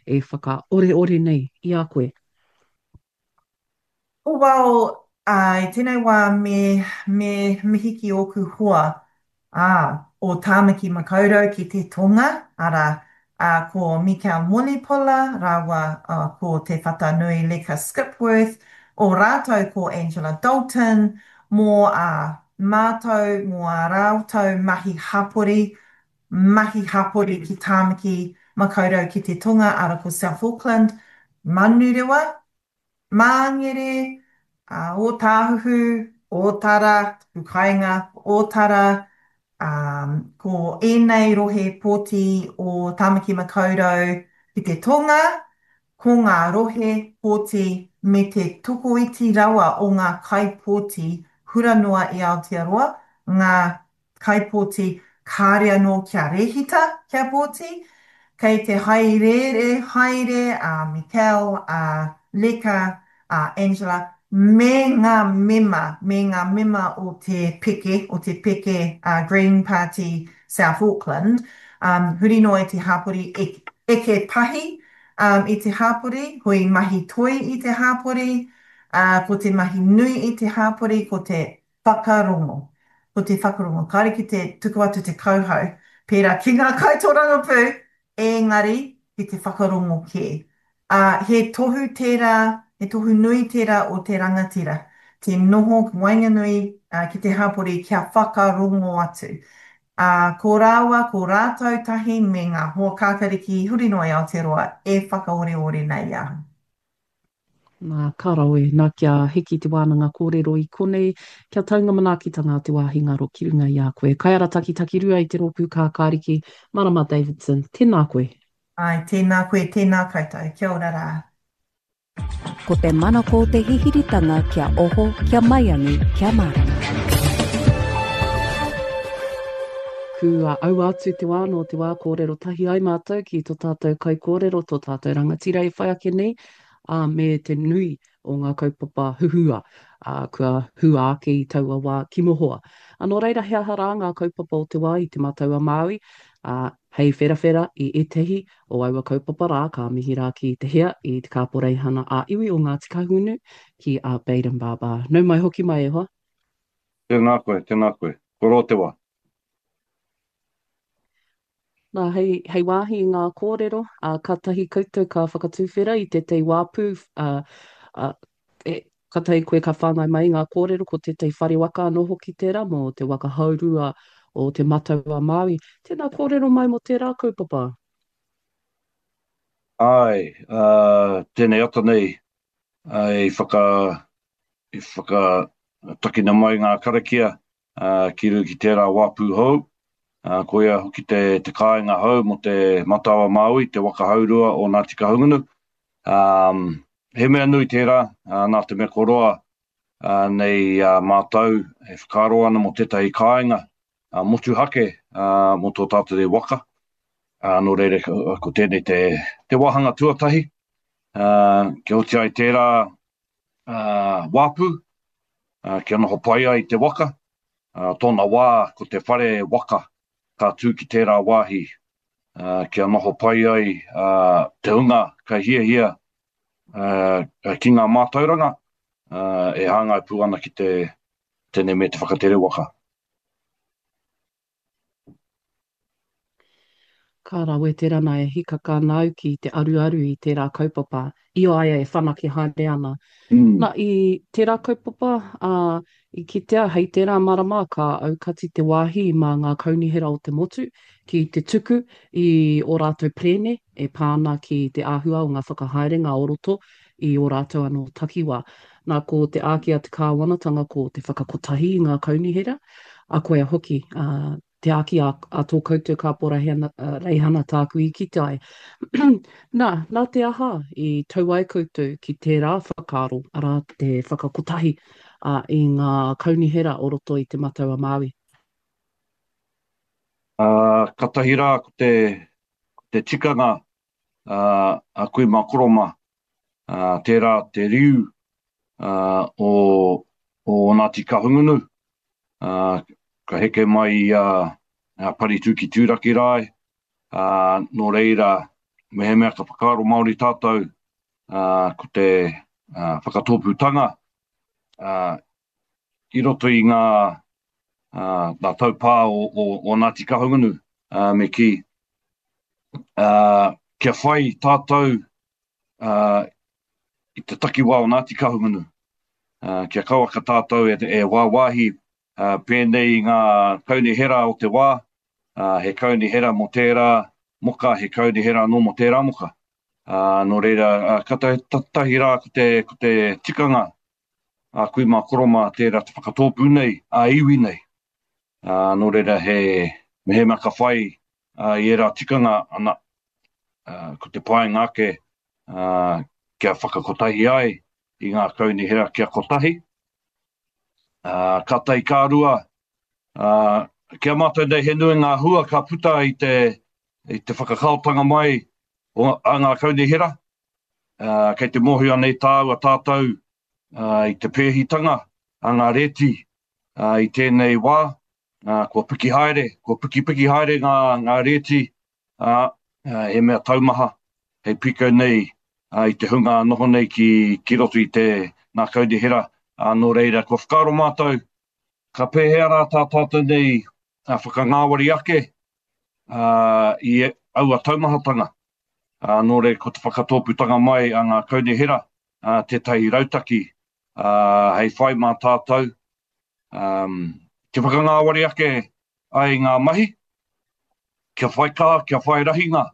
e whakaoreore nei i a koe? Well, ā, i tēnei wā me, me mihi ki ōku hoa, ā, o Tāmaki Makaurau ki te tonga, arā, ā, ko Mikel Mulipola rāua ko Te Whatanui Leka Skipworth, o rātou ko Angela Dalton, mō ā mātou, mō ā rātou mahi hapori, mahi hapori ki Tāmaki Makaurau ki te tonga, arā ko South Auckland, Manurewa, Māngere, Ōtāhuhu, Ōtara, taku kāinga, Ōtara, ā, ko ēnei rohe pōti o Tāmaki Makaurau ki te tonga, ko ngā rohe pōti me te tokoiti rawa o ngā kaipōti hura noa i Aotearoa, ngā kaipōti kāre anō kia rēhita kia pōti, kei te haerēre haere a Mikel, a Leka, a Angela me ngā mema, me ngā mema o te peke, o te peke a Green Party South Auckland, um, huri noa i te hāpori, eke pahi um, i te hāpori, hui mahi toi i te hāpori, uh, ko te mahi nui i te hāpori, ko te Whakarongo. Ko te whakarongo, kāore ki te tuku atu te kauhau, pērā ki ngā kaitōrangapū, engari ki te whakarongo kē. Ā, he tohu tērā, he tohu nui tērā o te rangatira, te noho waenganui ki te hapori kia whakarongo atu. Ā, ko rāua, ko rātou tahi me ngā hoa kākariki huri noa i Aotearoa e whakaoreore nei i ahau. Nā, ka rawe, nā kia hiki te wānanga kōrero i konei, kia tau ngā manaakitanga a te wāhi ngaro ki runga i a koe. Kaiarataki Takirua i te Rōpū Kākāriki, Marama Davidson, tēnā koe. Āe, tēnā koe, tēnā koutou. Kia ora rā. Ko te manako te hihiritanga kia oho, kia maiangi, kia mārama. Kua aua atu te wā nō te wā kōrero tahi ai mātou ki tō tātou kaikōrero, tō tātou rangatira e whai ake nei, ā, me te nui o ngā kaupapa huhua, ā, kua hua ake i taua wā ki mohoa. Ā, nō reira, he aha rā ngā kaupapa o te wā i Te Matau-a-Māui, ā, hei wherawhera i ētahi o aua kaupapa rā, ka mihi rā ki te hea i te Kāporeihana ā-Iwi o Ngāti Kahungunu, ki a Bayden Barber. Nau mai hoki mai e hoa. Tēnā koe, tēnā koe. Kua roa te wā. Nā, hei, hei wāhi i ngā kōrero, ā, kātahi koutou ka whakatuwhera i tētahi wāpū, ā, ā, e, kātahi koe ka whāngai mai i ngā kōrero, ko tētahi whare waka anō hoki tērā mō te waka haurua o Te Matau-a-Māui. Tēnā kōrero mai mō tērā kaupapa. Āe, ā, tēnei ata nei, ā, i whaka, i whakatakina mai ngā karakia, ā, ki runga ki tērā wāpū hou, ā, koia hoki te, te kāinga hou mō te Matau-a-Māui, te waka haurua o Ngāti Kahungunu. Ā, he mea nui tērā, ā, nā te mea kua roa ā, nei ā mātou e whakaaro ana mō tētahi kāinga ā, motuhake ā, mō tō tātou nei waka. Ā, nō reira, ko tēnei te, te wāhanga tuatahi, ā, kia oti ai tērā ā, wāpū, ā, kia noho pai ai te waka. Ā, tōna wā, ko te whare waka ka tū ki tērā wāhi, ā, kia noho pai ai, ā, te hunga ka hiahia, ā, ki ngā mātauranga, ā, e hāngai pū ana ki te, tēnei me te whakatere waka. Ka rawe te rana e hikaka ana au ki te aruaru i tērā kaupapa i a ia e whanake haere ana. Na, i tērā kaupapa, ā, i kitea hei tērā marama ka aukati te wāhi mā ngā kaunihera o te motu ki te tuku i ō rātou perēne e pā ana ki te āhua o ngā whakahaerenga o roto i ō rātou anō takiwā. Nā, ko te āki a te kāwanatanga ko te whakakotahi i ngā kaunihera, a koia hoki, ā, te āki a, a tō koutou kāporaheana, reihana tāku i kite ai. Nā, nā te aha i tau ai koutou ki tērā whakaaro, arā, te whakakotahi ā, i ngā kaunihera o roto i Te Matau-a-Māui? Ā, katahi rā ko te, ko te tikanga ā, a kui mā koro mā, ā, tērā te riu ā, o, o Ngāti Kahungunu, ā, ka heke mai i a, a Paritū ki Tūrakirae, ā, nō reira, Mehemea ka whakaaro Māori tātou, ko te whakatōpūtanga i roto i ngā ngā taupā o, o, o Ngāti Kahungunu, me kī, kia whai tātou i te takiwā o Ngāti Kahungunu, kia kauaka tātou e, e wāwāhi pēnei i ngā kaunihera o te wā, he kaunihera mō tērā moka, he kaunihera anō mō tērā moka. Nō reira, ka tahi rā ko te, ko te tikanga a kui mā koro mā tērā te whakatōpū nei, a iwi nei. Nō reira, he, mehemea ka whai i ērā tikanga, ana, ko te painga ake kia whakakotahi ai i ngā kaunihera kia kotahi, Ka tahi ka rua, ki a mātou nei he nui ngā hua ka puta i te, i te whakakaotanga mai o, a ngā kaunihera. Kei te mōhio nei tāua tātou i te pēhitanga a ngā rēti i tēnei wā, kua piki haere, kua pikipiki haere ngā, ngā rēti, ā, he mea taumaha hei pīkau nei i te hunga noho nei ki, ki roto i te ngā kaunihera, ā, nō reira, kua whakaaro mātou, ka pēhea rā tā tātou nei whakangāwari ake i aua taumahatanga, ā, nō reira, ko te whakatōpūtanga mai a ngā kaunihera tētahi rautaki hei whai mā tātou, kia whakangāwari ake ai ngā mahi, kia whai kaha, kia whai rahinga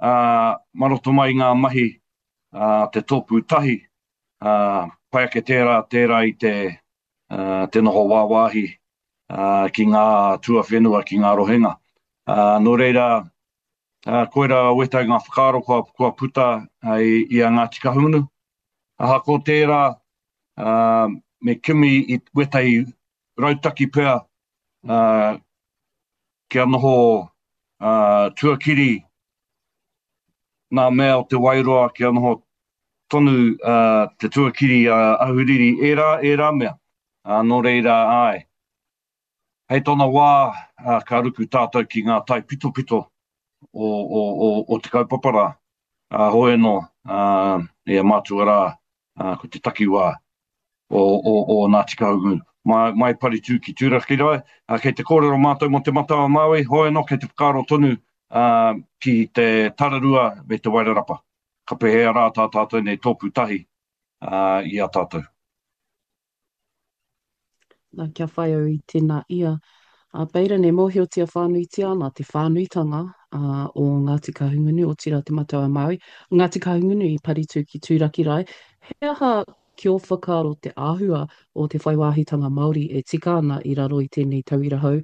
mā roto mai i ngā mahi a te tōpū tahi, pai ake tērā, tērā i te, te noho wāwāhi ki ngā tuawhenua, ki ngā rohenga. Nō reira, koirā wētahi ngā whakaaro kua, kua puta i, i a Ngāti Kahungunu. Ahakoa tērā, me kimi i wētahi rautaki pea kia noho tuakiri ngā mea o Te Wairoa, kia noho tonu te tuakiri ahuriri, ērā, ērā mea. Nō reira, āe, Hei tōna wā, ka ruku tātou ki ngā taipitopito o, o, o, o te kaupapa rā. Ā, hoi anō, ā, ia mātua rā, ā, ko te takiwā o, o, o Ngāti Kahungunu. Mai, mai Paritū ki Tūrakirae, ā, kei te kōrero mātou mō Te Matau-a-Māui, hoi anō kei te whakaaro tonu, ā, ki te Tararua me te Wairarapa. Ka pēhea rā tā tātou nei tōpū tahi, ā, i a tātou. Nā, kia whai au i tēnā ia. A Baden, e mōhiotia whānuitia ana te whānuitanga a, o Ngāti Kahungunu, otirā Te Matau-a-Māui, Ngāti Kahungunu i Paritū ki Tūrakirae. He aha ki ō whakaaro te āhua o te whai wāhitanga Māori e tika ana i raro i tēnei tauira hou?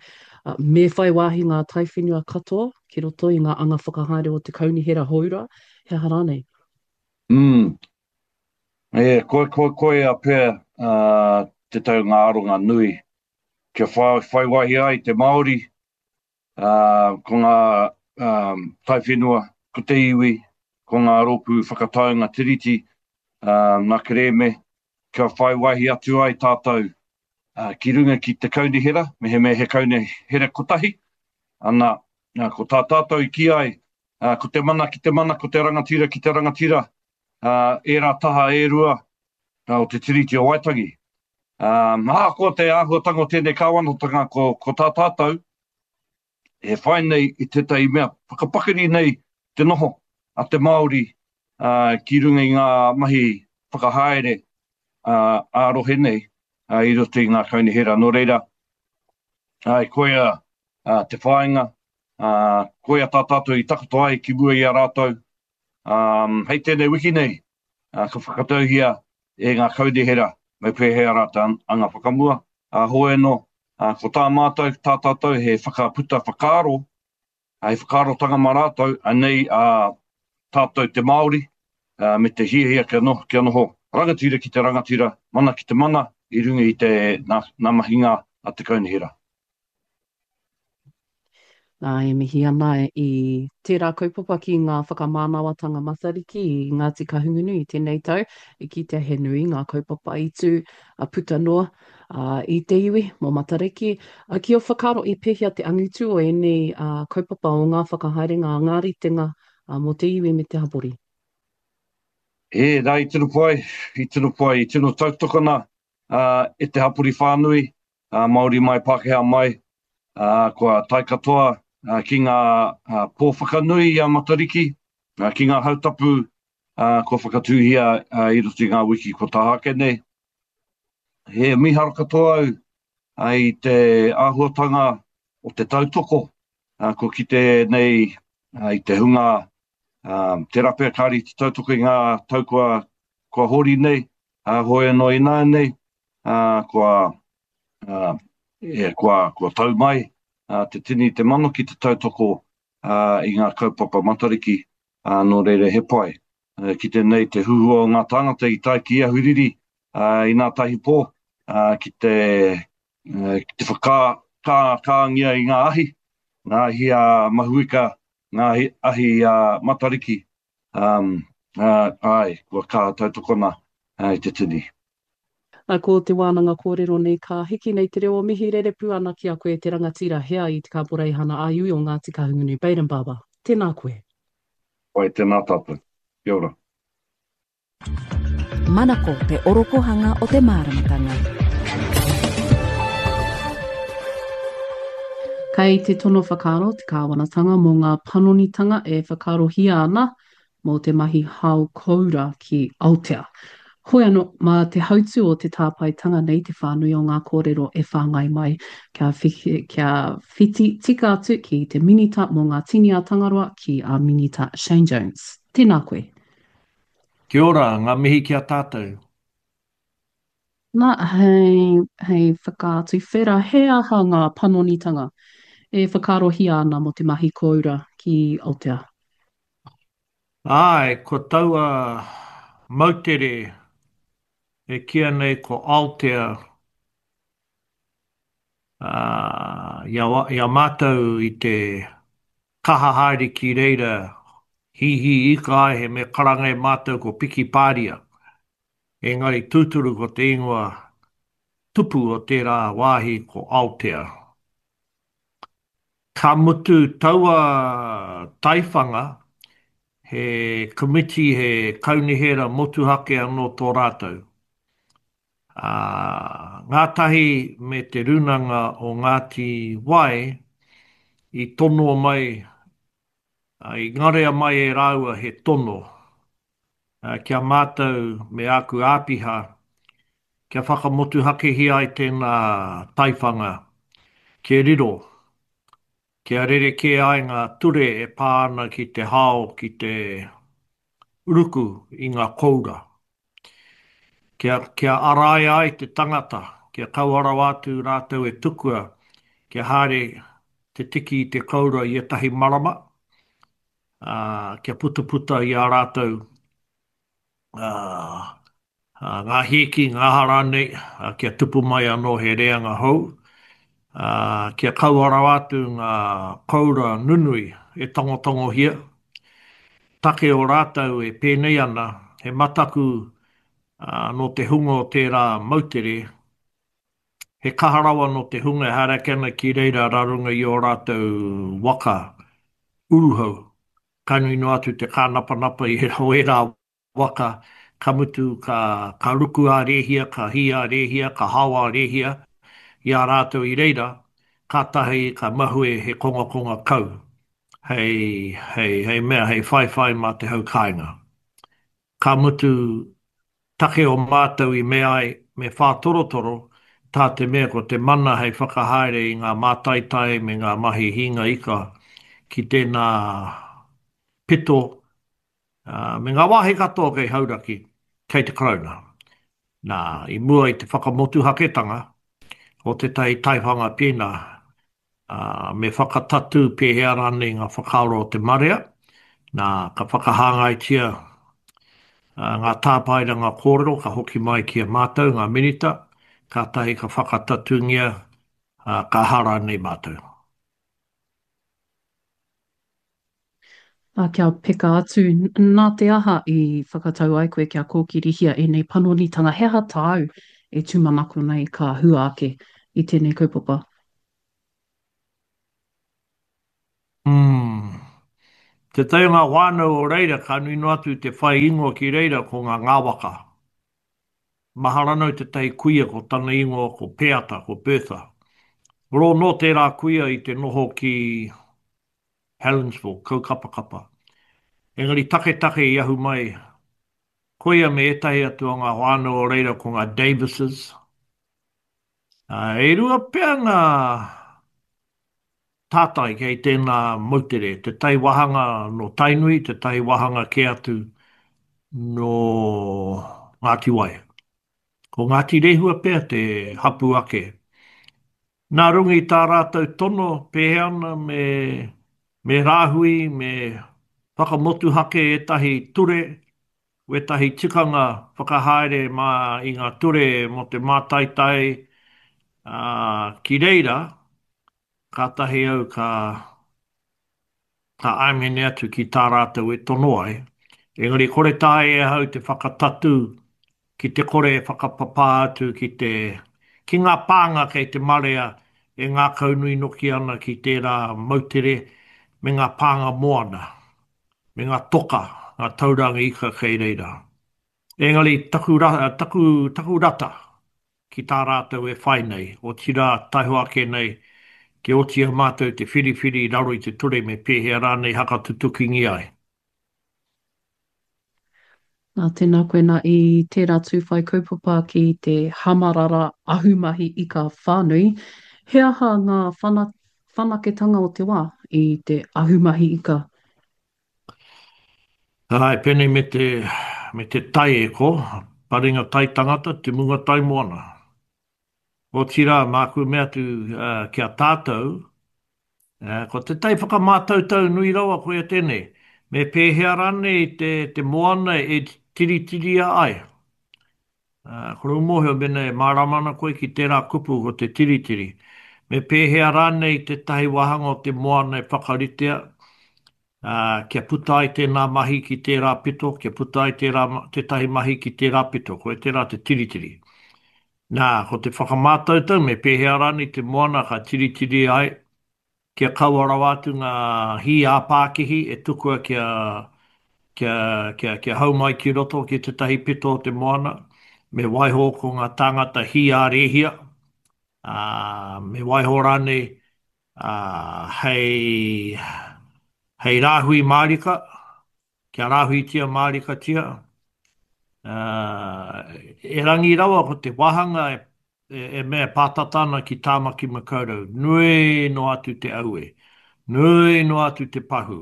Me whai wāhi ngā taiwhenua katoa ki roto i ngā anga whakahaere o te kaunihera hou rā, he aha rānei? Mm. E, koi, koi, koia pea uh, te tau ngā aronga nui kia whai, whai wāhi ai te Māori, uh, ko ngā um, taiwhenua, ko te iwi, ko ngā rōpū whakataunga tiriti, uh, ngā kerēme, kia whai wāhi atu ai tātou uh, ki runga ki te kaunihera, mehemea he kaunihera kotahi, ana, ko tā tātou i kī ai, uh, ko te mana ki te mana, ko te rangatira ki te rangatira, ērā taha e rua o te Tiriti o Waitangi. Ahakoa te āhuatanga o tēnei kāwanatanga, ko, ko tā tātou, e whai nei i tētahi mea whakapakari nei te noho a te Māori ki runga i ngā mahi whakahaere ā-rohe nei i roto i ngā kaunihera. Nō reira, ai, koia te whāinga, koia tā tātou i takoto ai ki mua i a rātou, Um, hei tēnei wiki nei, uh, ka whakatauhia e ngā kaunihera me pēhea rā te anga whakamua. Uh, hoi anō, uh, ko tā mātou, tā tātou he whakaputa whakaaro, hei whakaarotanga mā rātou, anei a uh, tātou te Māori, uh, me te hiahia kia noho, kia noho rangatira ki te rangatira, mana ki te mana, i runga i te nā, nā mahinga a te kaunihera. Nā, e mihi ana i tērā kaupapa ki ngā whakamānawatanga Matariki i Ngāti Kahungunu i tēnei tau, i kitea he nui ngā kaupapa i tū, a puta noa i te iwi mō Matariki. Ki ō whakaaro, i pēhea te angitu o ēnei kaupapa o ngā whakahaerenga, ngā ritenga mō te iwi me te hapori. Ē, nā, i tino pai, i tino pai, i tino tautokona e te hapori whānui, Māori mai, Pākehā mai, kua tae katoa ki ngā pō whakanui i a Matariki, ki ngā hautapu kua whakatūhia i roto i ngā wiki kua taha ake nei. He mīharo katoa au i te āhuatanga o te tautoko kua kite nei i te hunga tērā pea kāre i te tautoko i ngā tau kua, kua hori nei, hoi anō ināianei, kua, e, kua, kua tau mai te tini te mano ki te tautoko i ngā kaupapa Matariki, nō reira he pai. Kite nei te huhua o ngā tāngata i tae ki Ahuriri i nā tahi pō ki te, ki te whakakāngia i ngā ahi, ngā ahi a Mahuika, ngā ahi a Matariki, āe, kua kaha tautokona i te tini. Ko te wānanga kōrero nei ka hiki nei te reo o mihi rerepū ana ki a koe te rangatira hea i te Kāporeihana ā-Iwi o Ngāti Kahungunu Baden Barber. Tēnā koe. Pai, tēnā tātou. Kia ora. Manako te orokohanga o te māramatanga. Kei te tono whakaaro te kāwanatanga mō ngā panonitanga e whakaarohia ana mō te mahi hao koura ki Aotea. Hoi anō, mā te hautū o te tāpaetanga nei te whānui o ngā kōrero e whāngai mai, kia, kia whiti tika atu ki te Minita mō ngā Tini a Tangaroa, ki a Minita Shane Jones. Tēnā koe. Kia ora, ngā mihi ki a tātou. Nā, hei, hei whakatuwhera, he aha ngā panonitanga e whakaarohia ana mō te mahi kōura ki Aotea? Āe, ko taua moutere e kīia nei ko Aotea, ā, i a, i a mātou i te kaha haere ki reira hīhī ika ai he mea karanga e mātou ko Pikipāria, engari tūturu ko te ingoa tupu o tērā wāhi ko Aotea. Ka mutu taua taiwhanga, he komiti, he kaunihera motuhake anō tō rātou. Ā, ngātahi me Te Rūnanga o Ngāti Wai i tonoa mai, i ngarea mai e rāua he tono ki a mātou me āku āpiha kia whakamotuhakehia ai tēnā taiwhanga kia riro, kia rerekē ai ngā ture e pā ana ki te hao ki te ruku i ngā koura. Kia, kia araia ai te tangata, kia kaua rawa atu rātou e tukua kia haere te tiki i te koura i ētahi marama, ā, kia putaputa i a rātou, ā, ngā hīki, ngā aha rānei, ā, kia tupu mai anō he reanga hou, ā, kia kaua rawa atu ngā koura nunui e tangotangohia. Take o rātou e pēnei ana, he mataku, ā, nō te hunga o tērā moutere, He kaha rawa nō te hunga e haere ake ana ki reira rā runga i ō rātou waka uruhau. Ka nui noa atu te kānapanapa i o ērā waka, ka mutu ka, ka ruku ā-rēhia, ka hī ā-rēhia, ka hao ā-rēhia i a rātou i reira, kātahi ka mahue he kongakonga kau hei, hei, hei mea, hei whaiwhai mā te hau kāinga. Ka mutu, take o mātou i mea ai me whātorotoro, tā te mea ko te mana hei whakahaere i ngā mātaitai me ngā mahi hīnga ika ki tēnā pito, ā, me ngā wāhi katoa kei Hauraki, kei te Karauna. Nā, i mua i te whakamotuhaketanga o tētahi taiwhanga pēnā, ā, me whakatatū pēhea rānei ngā whakaaro o te marea, nā, ka whakahāngaitia ngā tāpaeranga kōrero ka hoki mai ki a mātou, ngā Minita, kātahi ka whakatatūngia, ā, ka aha rānei mātou. Ā, kia peka atu, nā te aha i whakatau ai koe kia kōkirihia ēnei panonitanga? He aha tāu e tūmanako nei ka hua ake i tēnei kaupapa? Umm. Tētahi o ngā whānau o reira ka nui noa atu te whai ingoa ki reira ko ngā Ngāwaka. Mahara nau tētahi kuia ko tana ingoa ko Peata, ko Bertha. Rō nō tērā kuia i te noho ki Helensville, Kaukapakapa. Engari taketake i ahu mai koia me ētahi atu o ngā whānau o reira ko ngā Davises. E rua pea ngā tātai kei tēnā moutere, tētahi wāhanga nō Tainui, tētahi wāhanga kē atu nō Ngāti Wai. Ko Ngāti Rehua pea te hapū ake. Nā runga i tā rātou tono pēhea ana me, me rāhui, me whakamotuhake ētahi ture, wētahi tikanga whakahaere mā i ngā ture mō te mātaitai, ā, ki reira, Kātahi au ka, ka āmene atu ki tā rātou e tono ai, engari kore taea e ahau te whakatatū ki te kore e whakapapā atu ki te, ki ngā pānga kei te marea e ngākaunui noki ana ki tērā moutere me ngā pānga moana, me ngā toka, ngā tauranga ika kei reira. Engari taku, taku, taku rata ki tā rātou e whai nei, otirā, taihoa ake nei, kia oti i a mātou te whiriwhiri i raro i te ture me pēhea rānei hakatutukingia ai. Nā, tēnā koe nā i tērā tū whai kaupapa ki te hamarara ahumahi ika whānui, he aha ngā whanaketanga o te wā i te ahumahi ika? Āe, pēnei me te, me te tai e ko, paringa tai tangata, te munga tai moana. Otirā, māku mea atu ki a tātou, ko te tai whakamātautau nui rawa koia tēnei, me pēhea rānei te, te moana e tiritiria ai? Ko rō mōhio mēnā e mārama ana koe ki tērā kupu ko te tiritiri. Me pēhea rānei tētahi wāhanga o te moana e whakaritea Ā, kia puta ai tēnā mahi ki tērā pito, kia puta ai tērā, tētahi mahi ki tērā pito, koia tērā te tiritiri. Nā, ko te whakamātautau me pēhea rānei te moana ka tiritiri ai, kia kaua rawa atu ngā hī ā-pākihi e tukua kia, kia, kia, kia hau mai ki roto ki tētahi pito o te moana, me waiho ko ngā tāngata hī ā-rēhia, ā, me waiho rānei ā, hei, hei rāhui mārika, kia rāhuitia mārikatia, ā, erangi rawa ko te wāhanga e, e, e mea e pātata ana ki Tāmaki Makaurau, nui noa atu te aue, nui noa atu te pahū,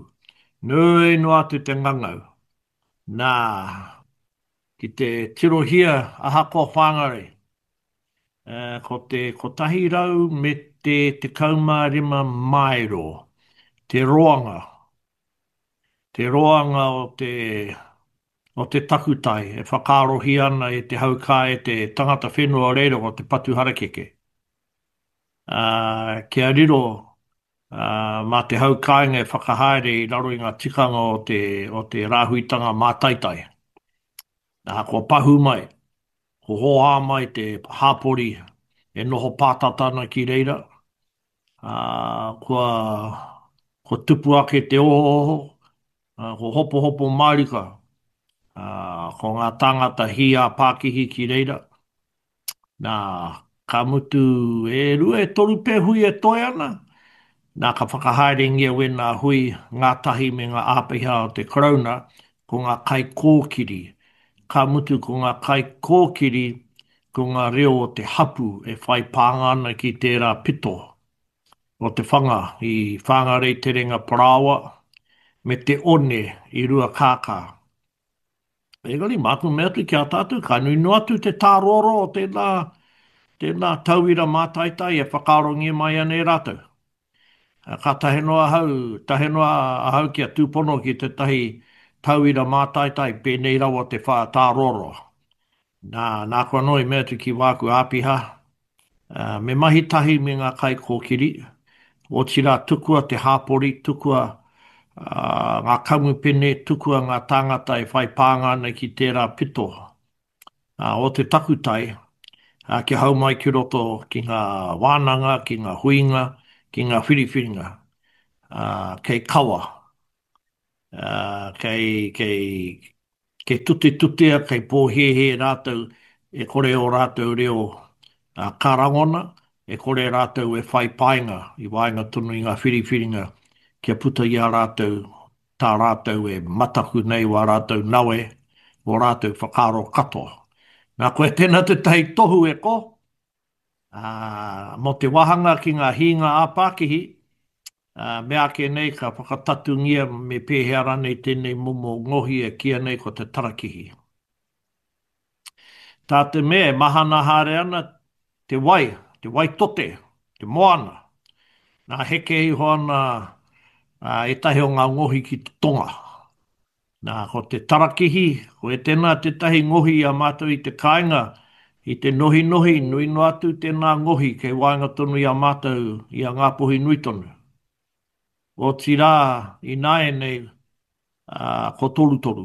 nui noa atu te ngangau. Nā, ki te tirohia ahakoa Whāngarei, Ko te 100 me te 15 maero te roanga, te roanga o te, o te takutai e whakaarohia ana e te hau kā e te tangata whenua o reira ko te patu harakeke. Ā, kia riro mā te hau kāinga e whakahaere i raro i ngā tikanga o te, o te rāhuitanga mātaitai. Ā, kua pahū mai. Ko hōhā mai te hāpori e noho pātata ana ki reira, ā, kua, kua tupu ake te ohooho, ā, kua hopohopo mārika, ā, ko ngā tāngata hī ā-pākihi ki reira. Nā, ka mutu e rua, e toru pea hui e toe ana, nā, ka whakahaerengia wēnā hui ngātahi me ngā āpiha o te Karauna, ko ngā kaikōkiri, ka mutu ko ngā kaikōkiri ko ngā reo o te hapū e whai pānga ana ki tērā pito o te whanga i Whāngarei Terenga Parāoa me te one i Ruakākā. Engari, māku mea atu ki a tātou, ka nui noa atu te tāroaroa o tēnā, tēnā tauira mātaitai e whakaarongia mai ana e rātou. Ka tahe noa ahau, tahe noa ahau kia tūpono ki tētahi tauira mātaitai pēnei rawa te whā tāroaroa. Nā, nāku anō i mea atu ki wāku āpiha, me mahi tahi me ngā kaikōkiri, otirā tukua te hāpori, tukua ngā kamupene, tukua ngā tāngata e whai pānga ana ki tērā pito o te takutai, kia hau mai ki roto ki ngā wānanga, ki ngā huinga, ki ngā whiriwhiringa, kei kawa. Ā, kei, kei, kei tutetutea, kei pōhēhē rātou e kore ō rātou reo ka rangona, e kore rātou e whai painga i waenga tonu i ngā whiriwhiringa kia puta i a rātou tā rātou e mataku nei wā rātou nawe, wō rātou whakaaro katoa. Nā, koia tēnā tētahi tohu e ko, ā, mō te wāhanga ki ngā hīnga ā-pākihi, Ā, meāke nei ka whakatatungia me pēhea rānei tēnei momo ngohi e kīia nei ko te tarakihi. Tā te mea e mahana haere ana te wai, te wai tote, te moana, nā heke iho ana ētahi o ngā ngohi ki te tonga. Nā, ko te tarakihi, ko tēnā tētahi ngohi i a mātou i te kāinga, i te nohinohi, nui noa atu tēnā ngohi kei waenga tonu i a mātou, i a Ngāpuhi nui tonu. Otirā, ināianei, ā, kua torutoru.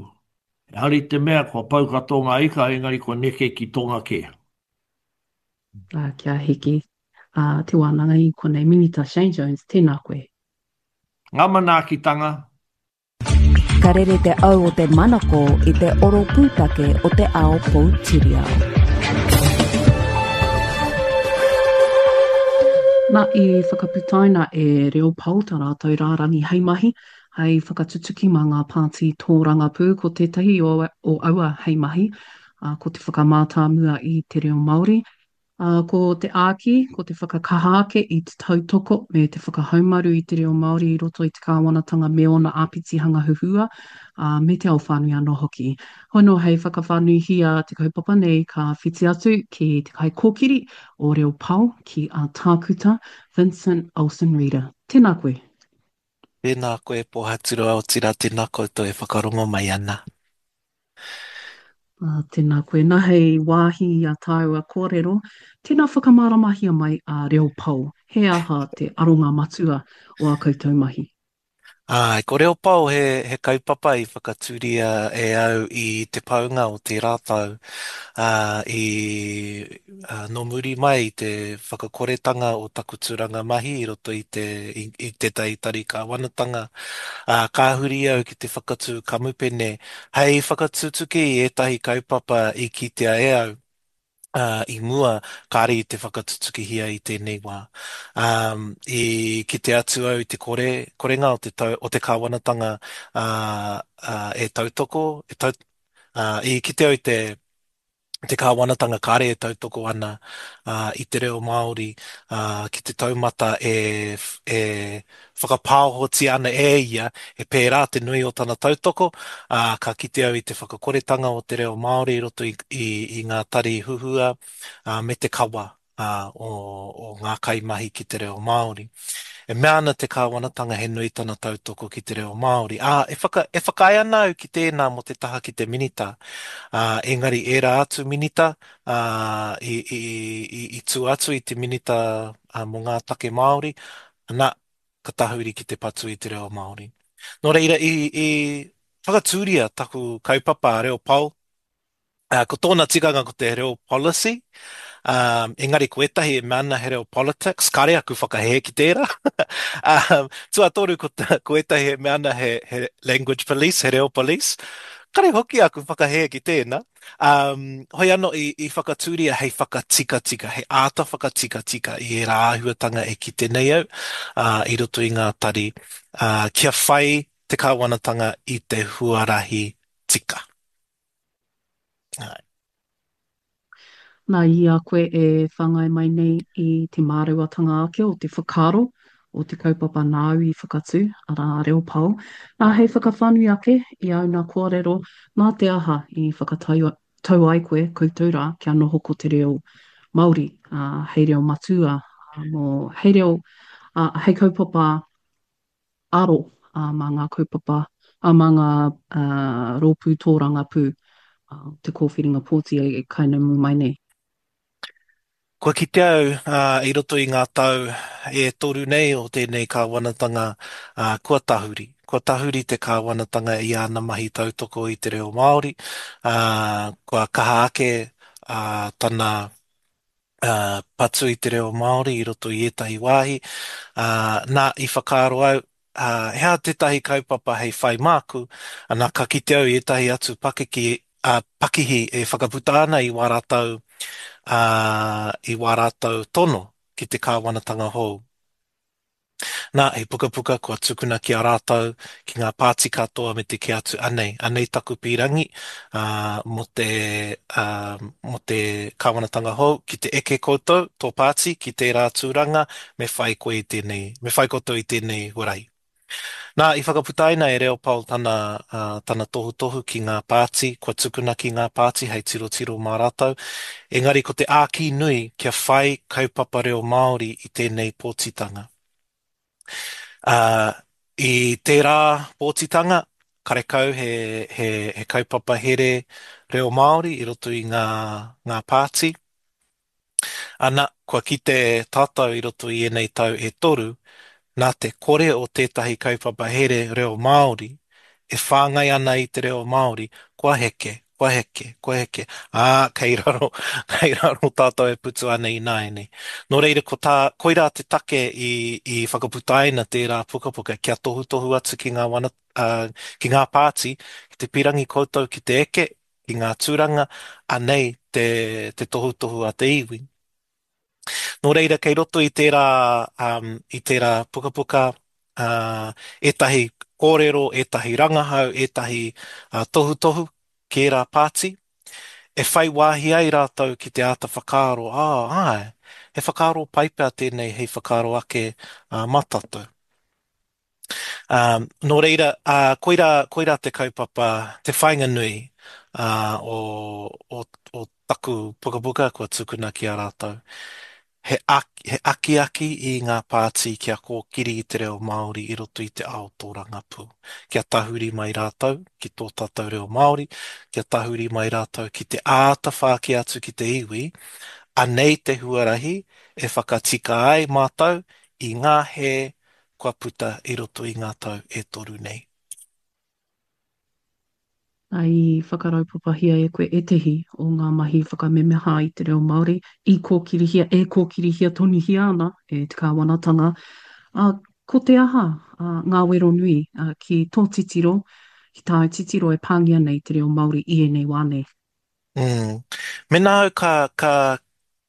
Ehara i te mea kua pau katoa ngā ika, engari kua neke ki tonga kē. Ā, kia hiki, ā, te wānanga i konei. Minita Shane Jones, tēnā koe. Ngā manaakitanga, Ka rere te au o te manako i te oro pūtake o te ao poutiriao. Na, i whakaputaina e Reo Pao ta ratou rārangi hei mahi, hei whakatutuki ma ngā pāti tōrangapū. Ko tētahi o aua hei mahi, ko te whakamātāmua i te reo Māori, Ā, ko te āki, ko te whakakaha ake i te tautoko me te whakahaumaru i te reo Māori i roto i te kāwanatanga me ōna āpitihanga huhua, ā, me te ao whānui anō hoki. Hoi anō, hei whakawhānuihia te kaupapa nei, ka whiti atu ki te kaikōkiri o Reo Pao, ki a Tākuta Vincent Olsen-Reeder. Tēnā koe. Tēnā koe Pōhaturoa, otirā tēnā koutou e whakarongo mai ana. Ā, tēnā koe. Nā, hei wāhi i a tāua kōrero, tēnā whakamāramahia mai a Reo Pao. He aha te aronga matua o ā koutou mahi? Āe, ko Reo Pao he, he kaupapa i whakatūria e au i te paunga o tērā tau, ā, i, ā, nō muri mai i te whakakoretanga o taku tūranga mahi i roto i te, i, i tētahi tari kāwanatanga, ā, ka huri au ki te whakatū kamupene Hei whakatutuki i ētahi kaupapa i kitea e au i mua, kāre i te whakatutukihia i tēnei wā. I kite atu au i te kore, korenga o te tau, o te kāwanatanga e tautoko, e tau, i kite au i te te kāwanatanga kāre e tautoko ana i te reo Māori ki te taumata e, e whakapāohotia ana e ia, he pērā te nui o tana tautoko, ā, ka kite au i te whakakoretanga o te reo Māori i roto i, i, i ngā tari huhua, ā, me te kawa ā, o, o ngā kaimahi ki te reo Māori. E mea ana te kāwanatanga he nui tana tautoko ki te reo Māori, ā, e whaka, e whakaae ana au ki tēnā mō te taha ki te minita, ā, engari ērā atu minita, ā, i, i, i, i tua atu i te minita ā, mō ngā take Māori, ana, ka tahuri ki te patu i te reo Māori. Nō reira, i, i whakatūria taku kaupapa a Reo Pao, Ko tōna tikanga ko te reo policy, engari ko ētahi e mea ana he reo politics, kāre aku whakahē ki tērā. Tuatoru ko, ko ētahi e mea ana he, he language police, he reo police, kāre hoki aku whakahē ki tēnā. Um, hoi anō i, i whakatūria hei whakatikatika, hei āta whakatikatika i ērā āhuatanga e kite nei au uh, i roto i ngā tari, uh, kia whai te kāwanatanga i te huarahi tika. Āe. Nā, i a koe e whāngai mai nei i te māreuatanga ake o te whakaaro o te kaupapa nāu i whakatū, arā, a Reo Pao, nā, hei whakawhānui ake i āu nā kōrero, nā te aha i whakatau tau ai koe, koutou rā, kia noho ko te reo Māori, ā, hei reo matua, ā, mō, hei reo, ā, hei kaupapa aro mā ngā kaupapa, mā ngā rōpū tōrangapū o te kōwhiringa pōti e kainamu mai nei. Kua kite au i roto i ngā tau e toru nei o tēnei kāwanatanga kua tahuri. Kua tahuri te kāwanatanga i āna mahi tautoko i te reo Māori, kua kaha ake tana patu i te reo Māori i roto i ētahi wāhi. Nā, i whakaaro au, ā, he aha tētahi kaupapa hei whai māku, ana ka kite au i ētahi atu pakiki, ā, pakihi e whakaputa ana i wā rātou, ā, i wā rātou tono ki te kāwanatanga hou. Nā, he pukapuka kua tukuna ki a rātou, ki ngā pāti katoa me te kī atu, anei, anei taku pīrangi, ā, mō te, ā, mō te kāwanatanga hou, ki te eke koutou, tō pāti, ki tērā tūranga, me whai koe i tēnei, me whai koutou i tēnei huarahi. Nā, i whakaputaina e Leopold tana, ā, tana tohutohu ki ngā pāti, kua tukuna ki ngā pāti hei tirotiro mā rātou, engari ko te āki nui kia whai kaupapa reo Māori i tēnei pōtitanga. Ā, i tērā pōtitanga, karekau he, he, he kaupapa here reo Māori i roto i ngā, ngā pāti. Ana, kua kite tātou i roto i ēnei tau e toru, nā te kore o tētahi kaupapa here reo Māori e whāngai ana i te reo Māori, kua heke, kua heke, kua heke, ā, kei raro, kei raro tātou e putu ana ināianei. Nō reira, ko tā, koirā te take i, i whakaputaina tērā pukapuka kia tohutohu atu ki ngā wana, ā, ki ngā pāti, ki te pirangi koutou ki te eke, ki ngā tūranga, anei te, te tohutohu a te iwi. Nō reira, kei roto i tērā, um, i tērā pukapuka, uh, ētahi kōrero, ētahi rangahau, ētahi uh, tohutohu ki ērā pāti, e whai wāhi ai rātou ki te āta whakaaro, ā, āe, he whakaaro pai pea tēnei hei whakaaro ake uh, mā tātou. Ā, nō reira, ā, koirā, koirā te kaupapa, te whāinga nui, ā, o, o, o taku pukapuka kua tukuna ki a rātou. He, he akiaki i ngā pāti kia kōkiri i te reo Māori i roto i te ao tōrangapū. Kia tahuri mai rātou ki tō tātou reo Māori, kia tahuri mai rātou ki te āta whāki atu ki te iwi, anei te huarahi e whakatika ai mātou i ngā hē kua puta i roto i ngā tau e toru nei. I whakaraupapahia e koe ētehi o ngā mahi whakamemeha i te reo Māori i kōkirihia, e kōkirihia tonuhia ana e te kāwanatanga. Ā, ko te aha ngā wero nui ki tō titiro, ki tāu titiro e pāngia nei te reo Māori i ēnei wā nei? Mm. Mēnā au ka, ka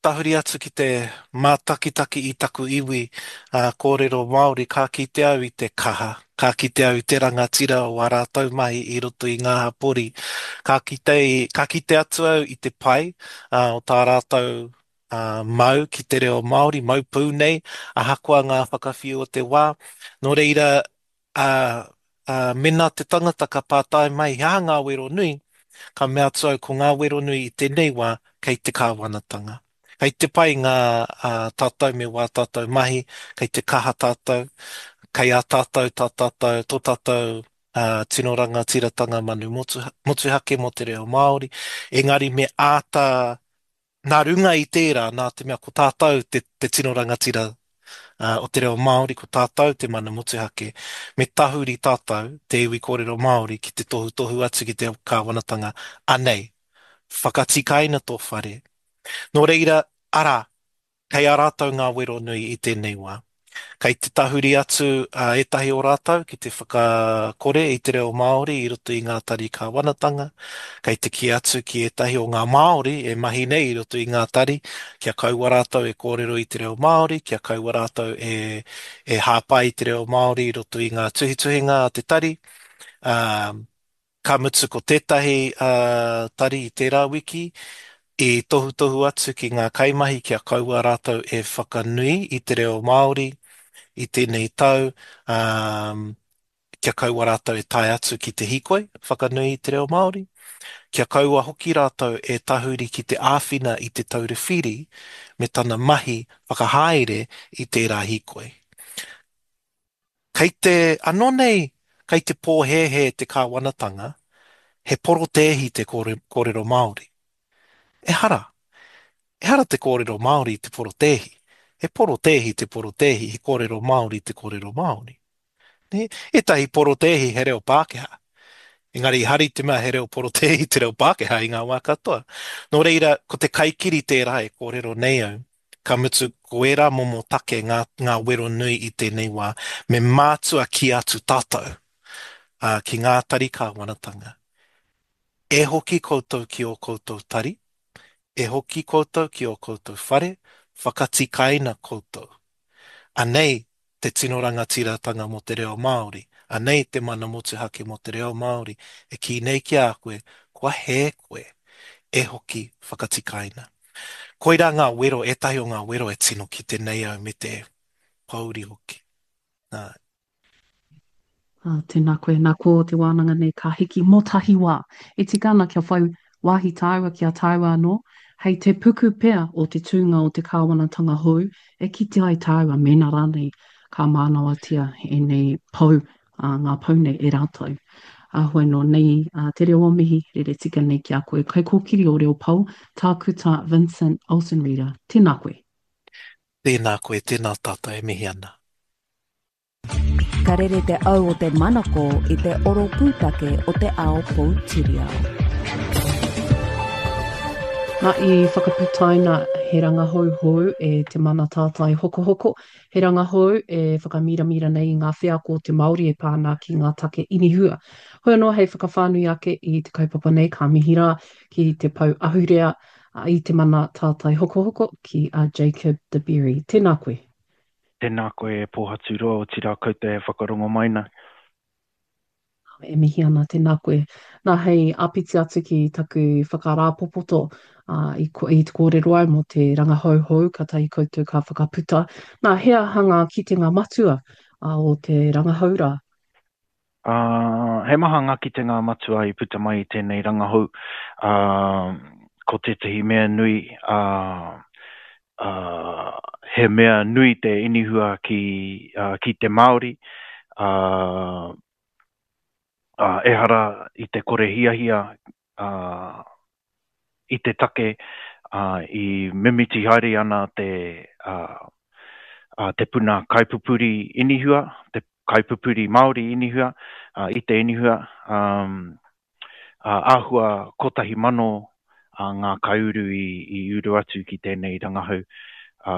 tahuri atu ki te mātakitaki i taku iwi ā, kōrero Māori, ka kite au i te kaha, ka kite au i te rangatira o ā rātou mahi i roto i ngā hapori. Ka kite, ka kite atu au i te pai ā, o tā rātou ā, mau ki te reo Māori, mau pū nei, ahakoa ngā whakawhiu o te wā. Nō reira, ā, ā, mēnā te tangata ka pātai mai he aha ngā wero nui, ka mea atu au ko ngā wero nui i tēnei wā kei te kāwanatanga. Kei te pai ngā, ā, tātou me wā tātou mahi, kei te kaha tātou, kei a tātou tā tātou, tō tātou, ā, tino rangatiratanga manu motu, motuhake mō te reo Māori, engari me āta Nā runga i tērā, nā te mea ko tātou te, te tino rangatira o te reo Māori, ko tātou te mana motuhake, me tahuri tātou, te iwi kōrero Māori, ki te tohutohu atu ki te kāwanatanga, anei, whakatikaina tō whare. Nō reira, arā, kei a rātou ngā wero nui i tēnei wā. Kei te tahuri atu ētahi o rātou ki te whakakore i te reo Māori i roto i ngā tari kāwanatanga, kei te kī atu ki ētahi o ngā Māori e mahi nei i roto i ngā tari kia kaua rātou e kōrero i te reo Māori, kia kaua rātou e, e hāpai i te reo Māori i roto i ngā tuhituhinga a te tari. Ā, Ka mutu ko tētahi tari i tērā wiki i tohutohu atu ki ngā kaimahi kia kaua rātou e whakanui i te reo Māori i tēnei tau, ā, kia kaua rātou e tae atu ki te hīkoi whakanui i te reo Māori, kia kaua hoki rātou e tahuri ki te āwhina i Te Taura Whiri me tana mahi whakahaere i tērā hīkoi. Kei te, anō nei, kei te pōhēhē te kāwanatanga, he porotēhi te kōrero Māori. Ehara. Ehara te kōrero Māori i te porotēhi. He porotēhi te porotēhi, he kōrero Māori te kōrero Māori. Nē? Ētahi porotēhi he reo Pākehā. Engari ehara i te mea he reo porotēhi te reo Pākehā i ngā wā katoa. Nō reira, ko te kaikiri tērā e kōrero nei au. Ka mutu, ko ērā momo take ngā, ngā wero nui i tēnei wā, me mātua kī atu tātou, ā, ki ngā tari kāwanatanga. E hoki koutou ki ō koutou tari, e hoki koutou ki ō koutou whare, whakatikaina koutou. Anei te tino rangatiratanga mō te reo Māori, anei te mana motuhake mō te reo Māori e kī nei ki a koe, kua hē koe, e hoki whakatikaina. Koirā ngā wero, ētahi o ngā wero e tino kite nei au me te pōuri hoki. Nā. Ā, tēnā koe. Nā, ko te wānanga nei ka hiki mō tahi wā. E tika ana kia whai wāhi tāua ki a tāua anō, hei te puku pea o te tūnga o te kāwanatanga hou e kite ai tāua mēnā rānei ka mānawatia ēnei pou, ā, ngā pou nei e rātou. Ā, hoi nō nei ā, te reo o mihi, rere tika nei ki a koe. Kaikōkiri o Reo Pou, Tākuta Vincent Olsen-Reeder, tēnā koe. Tēnā koe, tēnā tātou e mihi ana. Ka rere te au o te manako i te oro pūtake o te ao poutiriao. Na, i whakaputaina he rangahou hou e Te Mana Tātai Hokohoko, he rangahou e whakamiramira nei i ngā wheako o te Māori e pā ana ki ngā take inihua. Hoi anō hei whakawhānui ake i te kaupapa nei ka mihi rā ki te pou ahurea i Te Mana Tātai Hokohoko ki a Jacob De Berry. Tēnā koe. Tēnā koe e Pōhaturoa, otirā koutou e whakarongo mai nei. E mihi ana, tēnā koe. Nā, hei āpiti atu ki taku whakarāpopoto, ā, i, i te kōrero au mō te rangahau hou kātahi koutou ka whakaputa. Nā, he aha ngā kitenga matua ā, o te rangahau rā? Ā, he maha ngā kitenga matua i puta mai i tēnei rangahau. Ā, ko tētahi mea nui, ā, ā, he mea nui te inihua ki, ā, ki te Māori, ā, ā, ehara i te kore hiahia, ā, i te take, ā, i mimiti haere ana te, ā, ā, te puna kaipupuri inihua, te kaipupuri Māori inihua, ā, i te inihua, ā, ā, āhua 1,000 ā, ngā kaiuru i, i uru atu ki tēnei rangahau. Ā,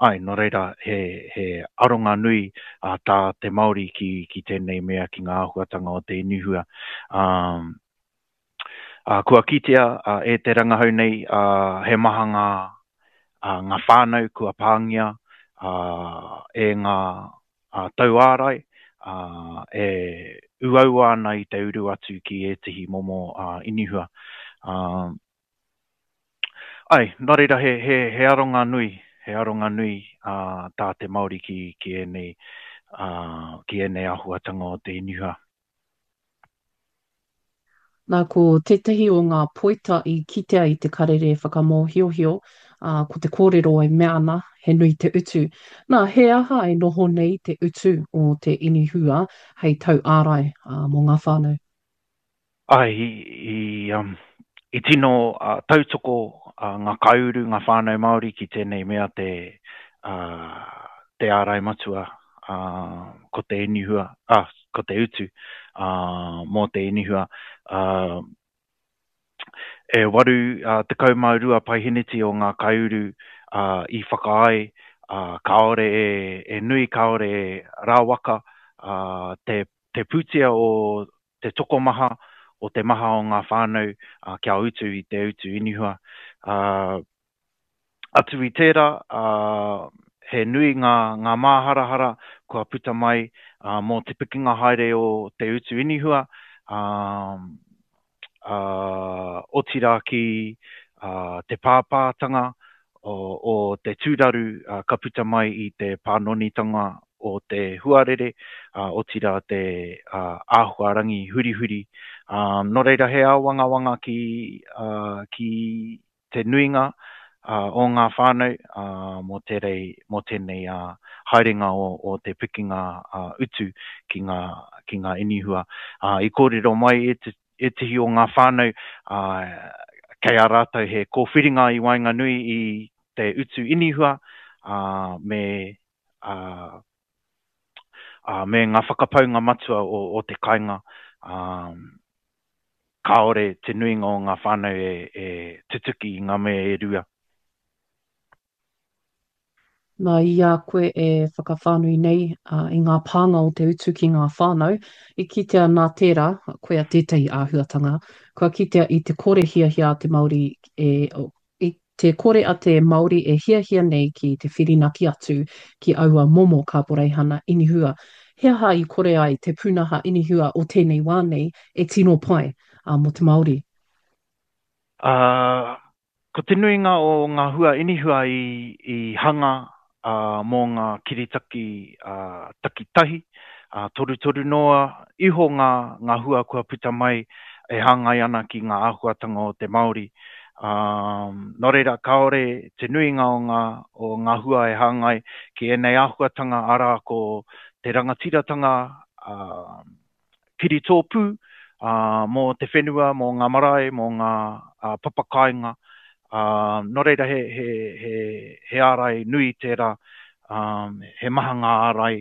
āe, nō reira, he, he aronga nui ā, tā te Māori ki, ki tēnei mea, ki ngā āhuatanga o te inihua. Ā, Ā, kua kitea e te rangahau nei he maha ngā, ngā whānau kua pāngia e ngā tauārai e uaua ana i te uru atu ki ētehi momo inihua. Āe, nō reira he, he, he aronga nui, he aronga nui tā te Māori ki, ki ēnei, ki ēnei āhuatanga o te inihua. Nā, ko tētahi o ngā poita i kitea i te karere whakamōhiohio, ā, ko te kōrero e mea ana, he nui te utu. Nā, he aha e noho nei te utu o te inihua hei tauārai, ā, mō ngā whānau? Āe, i, i, um, i tino uh, tautoko uh, ngā kaiuru, ngā whānau Māori ki tēnei mea te, uh, te ārai matua, uh, ko te inihua, uh, ko te utu mō te inihua. E 82 paeheneti o ngā kaiuru i whakaae kāore e nui, kāore e rawaka te pūtea o te tokomaha, o te maha o ngā whānau kia utu i te utu inihua. Atu i tērā, he nui ngā, ngā māharahara kua puta mai mō te pikinga haere o te utu inihua, otirā ki te pāpātanga o te tūraru ka puta mai i te pānonitanga o te huarere, otirā te āhuarangi hurihuri. Nō reira, he āwangawanga ki, ki te nuinga o ngā whānau mō tērei, mō tēnei haerenga o te pikinga utu ki ngā, ki ngā inihua. I kōrero mai ētehi o ngā whānau kei a rātou he kōwhiringa i waenganui i te utu inihua me, me ngā whakapaunga matua o te kainga. Kāore te nuinga o ngā whānau e tutuki i ngā mea e rua. Nā, i a koe e whakawhānui nei i ngā pānga o te utu ki ngā whānau, i kitea nā tērā, koia tētahi āhuatanga, kua kitea i te kore hiahia a te Māori e, i te kore a te Māori e hiahia nei ki te whirinaki atu ki aua momo kaporeihana inihua. He aha i kore ai te pūnaha inihua o tēnei wā nei e tino pai mō te Māori? Ā, Ko te nuinga o ngā hua inihua i hanga mō ngā kiritaki takitahi, torutoru noa iho ngā hua kua puta mai e hāngai ana ki ngā āhuatanga o te Māori. Nō reira, kāore te nuinga o ngā hua e hāngai ki ēnei āhuatanga, arā, ko te rangatiratanga, kiritōpū mō te whenua, mō ngā marae, mō ngā papakāinga. Nō reira he, he, he, he ārai nui tērā, he maha ngā ārai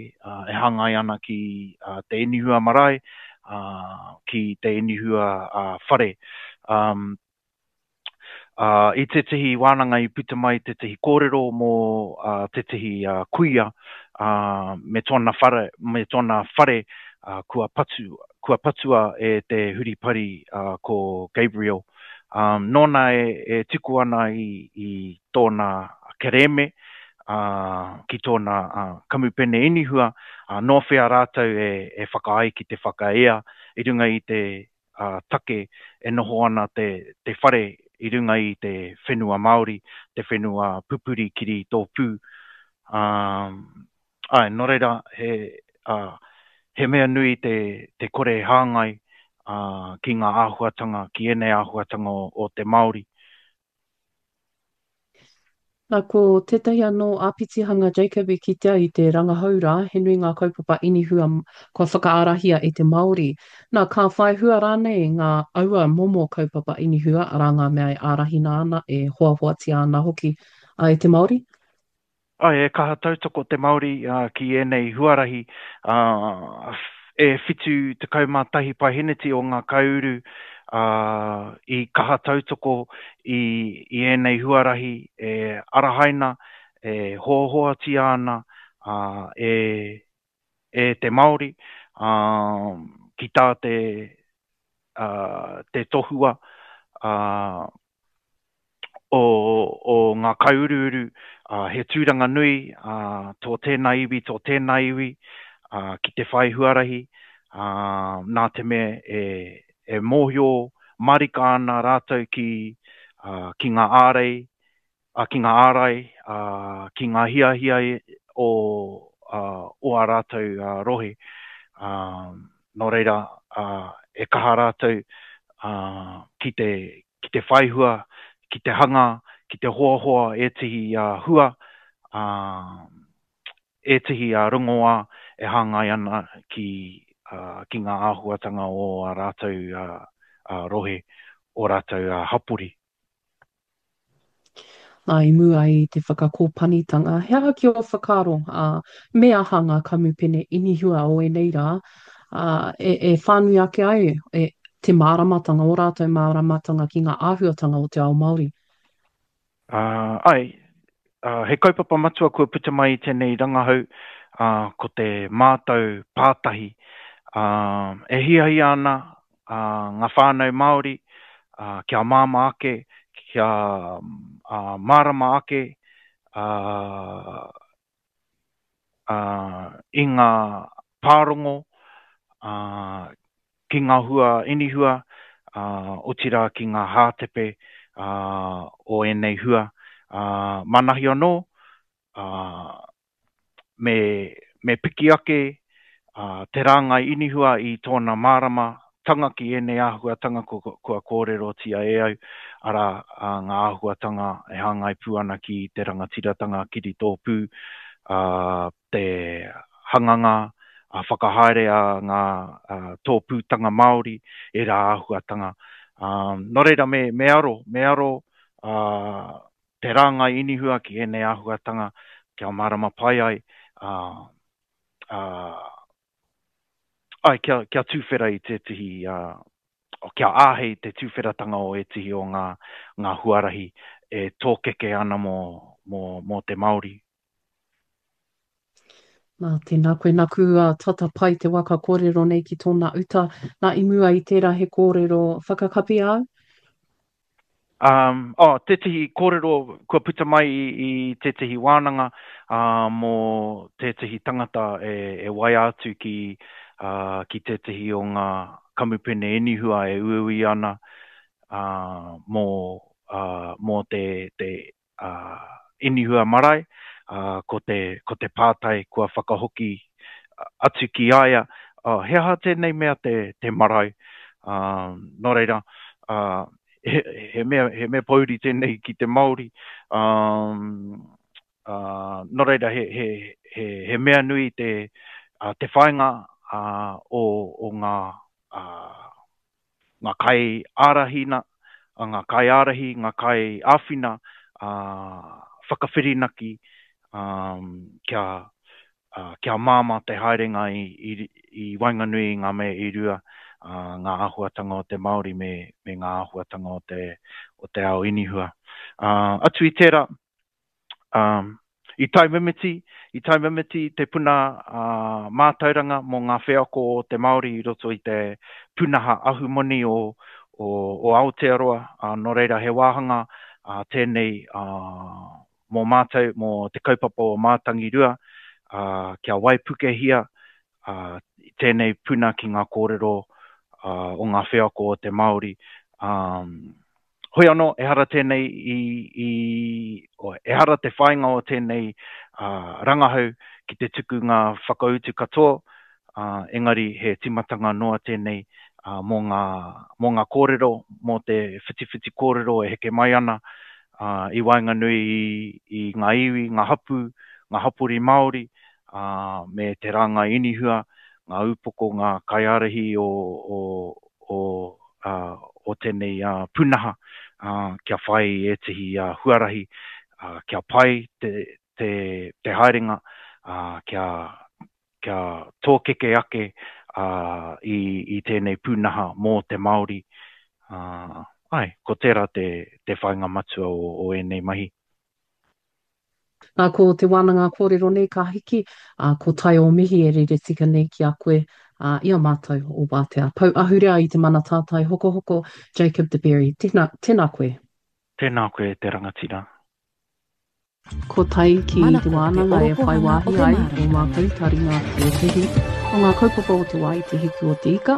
e hāngai ana ki te inihua marae, ki te inihua whare. Ā, i tētehi wānanga i puta mai tētehi kōrero mō tētehi kuia, ā, me tōna whare, me tōna whare, ā, kua patu, kua patua e te huripari, ā, ko Gabriel. Ā, nōna e, e tuku ana i, i tōna kerēme, ā, ki tōna, ā, kamupene inihua, ā, nō whea rātou e, e whakaae ki te whakaea i runga i te, take e noho ana te te whare i runga i te whenua Māori, te whenua pupuri kiri tōpū. Āe, nō reira, he, he mea nui te, te kore hāngai ki ngā āhuatanga, ki ēnei āhuatanga o, o te Māori. Na, ko tētahi anō āpitihanga Jacob i kitea i te rangahau rā, he nui ngā kaupapa inihua kua whakaarahia e te Māori. Na, ka whai hua rānei ngā aua momo kaupapa inihua, arā ngā mea e ārahina ana, e hoahoatia ana hoki e te Māori? Āe, e kaha tautoko te Māori ki ēnei huarahi, ā, e 71 paeheneti o ngā kaiuru i kaha tautoko i ēnei huarahi e arahaina, e hoahoatia ana e e te Māori, ā, ki tā te, ā, te tohua, ā, o, o ngā kaiuruuru, ā, he tūranga nui, ā, tō tēnā iwi, tō tēnā iwi, ā, ki te whai huarahi, ā, nā te mea e, e mōhio marika ana rātou ki, ā, ki ngā ārei, ā, ki ngā ārai, ā, ki ngā hiahia o, ā, o ā rātou rohe. Ā, nō reira, ā, e kaha rātou, ā, ki te, ki te whaihua, ki te hanga, ki te hoahoa ētehi hua, ā, ētehi rongoā e hāngai ana ki, ā, ki ngā āhuatanga o ā rātou, ā, rohe, ō rātou hapori. Nā, i mua i te whakakōpanitanga, he aha ki ō whakaaro, ā, me aha ngā kamupene inihua o ēnei rā, ā, e, e whānui ake ai e, te māramatanga, ō rātou māramatanga ki ngā āhuatanga o te ao Māori? Ā, āe, ā, he kaupapa matua kua puta mai i tēnei rangahau, ā, ko te mātau pātahi. Ā, e hiahia ana ngā whānau Māori kia māmā ake, kia mārama ake i ngā pārongo ki ngā hua inihua, otirā ki ngā hātepe o ēnei hua. Manahi anō, me, me piki ake te rāngai inihua i tōna mārama tanga ki ēnei āhuatanga kua, kua kōrerotia e au, arā, ngā āhuatanga e hāngai pū ana ki te rangatiratanga kiritōpū, te hanganga whakahaere a ngā tōpūtanga Māori, ērā āhuatanga. Nō reira, me, me aro, me aro te rāngai inihua ki ēnei āhuatanga kia mārama pai ai, ā, ā, āe, kia, kia tūwhera i tētehi, ā, kia āhei te tūwheratanga o ētehi o ngā, ngā huarahi e tōkeke ana mō, mō, mō te Māori. Nā, tēnā koe, naku a tata pai te waka kōrero nei ki tōna uta. Nā, i mua i tērā he kōrero whakakapi āu? Um, oh, tētehi kōrero kua puta mai i, i tētehi wānanga uh, mō tētehi tangata e, e waia atu ki, uh, ki tētehi o ngā kamupene inihua e uiui ana uh, mō, uh, mō te, te inihua marae, ko te, ko te pātai kua whakahoki atu ki a ia, he aha tēnei mea te, te marae? Nō reira, he, he mea, he mea pōuri tēnei ki te Māori, nō reira, he, he, he, he mea nui te, te whāinga o, o ngā, ngā kaiārahina, ngā kaiārahi, ngā kaiāwhina, whakawhirinaki kia, kia māmā te haerenga i, i, i waenganui i ngā mea e rua, ngā āhuatanga o te Māori me, me ngā āhuatanga o te, o te ao inihua. Atu i tērā, Um, i taumimiti, i taumimiti te puna uh, mātauranga mō ngā wheako o te Māori i roto i te pūnaha ahumoni o, o, o Aotearoa, uh, nō reira he wāhanga uh, tēnei uh, mō mātou, mō te kaupapa o Mātangirua, uh, kia waipukehia uh, tēnei puna ki ngā kōrero uh, o ngā wheako o te Māori. Um, Hoi anō, ehara tēnei i, i, ehara te whāinga o tēnei uh, rangahau ki te tuku ngā whakautu katoa, uh, engari he tīmatanga noa tēnei uh, mō, ngā, mō ngā kōrero, mō te whitiwhiti kōrero e heke mai ana uh, i waenganui i, i ngā iwi, ngā hapū, ngā hapori Māori, uh, me te rāngai inihua, ngā upoko, ngā kaiārahi o, o, o, o tēnei pūnaha kia whai i ētehi huarahi kia pai te, te, te haerenga, kia, kia tōkeke ake i, i tēnei pūnaha mō te Māori. Āe, ko tērā te, te whāinga matua o, o ēnei mahi. Nā, ko te wānanga kōrero nei ka hiki, ā, ko tai o mihi e rere tika nei ki a koe, ā, i a mātou o Wātea. Pou ahurea i te mana tātai hokohoko, Jacob de Berry. Tēnā, tēnā koe. Tēnā koe e te rangatira. Ko tai ki te wānanga e whai wāhi ai ō mātou taringa ki ētehi o ngā kaupapa o te wā i Te Hiku o te Ika.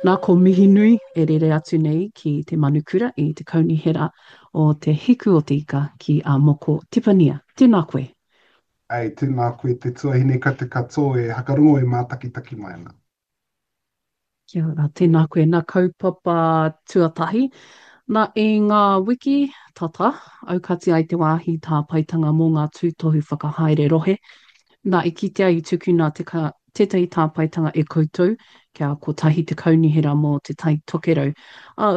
Nā, ko Mihinui e rere atu nei ki te manukura i te kaunihera o Te Hiku o te Ika ki a Moko Tipania. Tēnā koe. Ei, tēnā koe te tuahine ka te katoa e hakarongo e mātakitaki mai ana. Kia ora, tēnā koe. Nā kaupapa tuatahi, nā i ngā wiki tata, aukati ai te wāhi tāpaetanga mō ngā tūtohu whakahaere rohe. Nā, i kitea i tukuna te ka, tētahi tāpaetanga e koutou kia kotahi te kaunihera mō Te Tai Tokerau. Ā,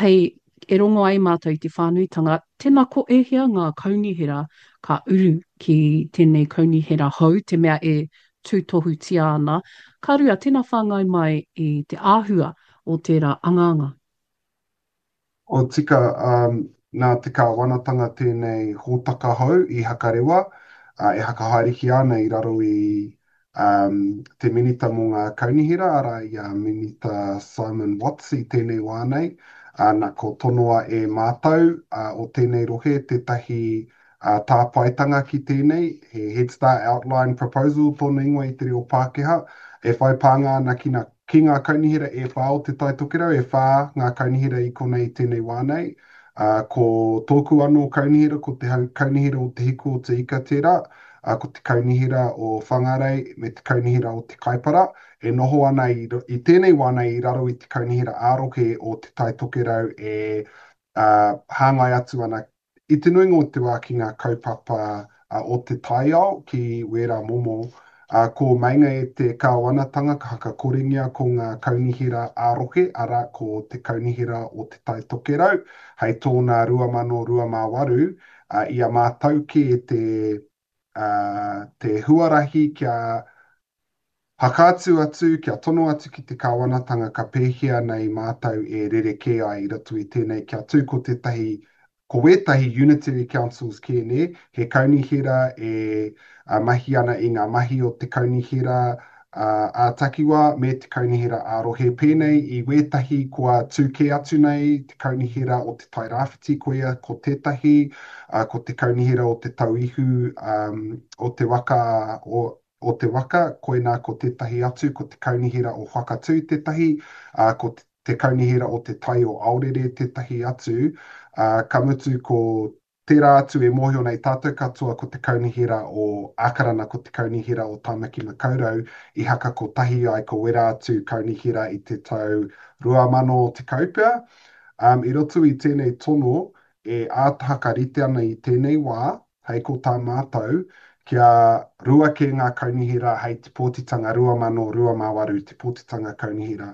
hei e rongo ai mātou i te whānuitanga, tēnā ko ēhea ngā kaunihera ka uru ki tēnei kaunihera hou, te mea e tūtohutia ana, ka rua, tēnā whāngai mai i te āhua o tērā angaanga. O tika, nā te kāwanatanga tēnei hōtaka hou i Hakarewa, e hakahaerehia ana i raro i te Minita mō ngā Kaunihera, arā, i a Minita Simon Watts i tēnei wā nei, na, ko tonoa e mātou o tēnei rohe tētahi tāpaetanga ki tēnei, he Head Start Outline Proposal tōna ingoa i te reo Pākehā, e whai pānga ana ki ngā, ki ngā kaunihera e whā o Te Tai Tokerau, e whā ngā kaunihera i konei i tēnei wā nei. Ā, ko tōku anō kaunihera, ko te Kaunihera o Te Hiku o Te Ika tērā, ā, ko te Kaunihera o Whangarei me te Kaunihera o Te Kaipara, e noho ana i, i tēnei wā nei i raro i te Kaunihera ā-rohe o Te Tai Tokerau e, ā, hāngai atu ana i te nuinga o te wā ki ngā kaupapa o te taiao, ki wērā momo Ā, ko meinga e te kāwanatanga ka hakakorengia ko ngā kaunihera ā-rohe, arā, ko te Kaunihera o Te Tai Tokerau, hei tōna 2028, ā, i a mātou kē te, ā, te huarahi kia hakaatu atu, kia tono atu ki te kāwanatanga ka pēhea nei mātou e rerekē ai i roto i tēnei kia tū ko tētahi. Ko wētahi unitary councils kē nē, he kaunihera e mahi ana i ngā mahi o te kaunihera ā-takiwā me te kaunihera ā-rohe pēnei i wētahi kua tū kē atu nei, te kaunihera o Te Tai Rāwhiti koia ko tētahi, ko te kaunihera o Te Tauihu o te waka o o te waka, koinā ko tētahi atu, ko te kaunihera o Whakatū tētahi, ā, ko te kaunihera o Te Tai o Aorere tētahi atu, ā, ka mutu ko tērā atu e mōhio nei tātou katoa ko te kaunihera o Ākarana, ko te kaunihera o Tāmaki Makaurau i haka kotahi ai ko wērā atu kaunihera i te tau 2010 pea. Ā, i roto i tēnei tono e āta hakarite ana i tēnei wā, Hei ko tā mātou, kia rua kē ngā kaunihera hei te pōtitanga 2028, te pōtitanga kaunihera.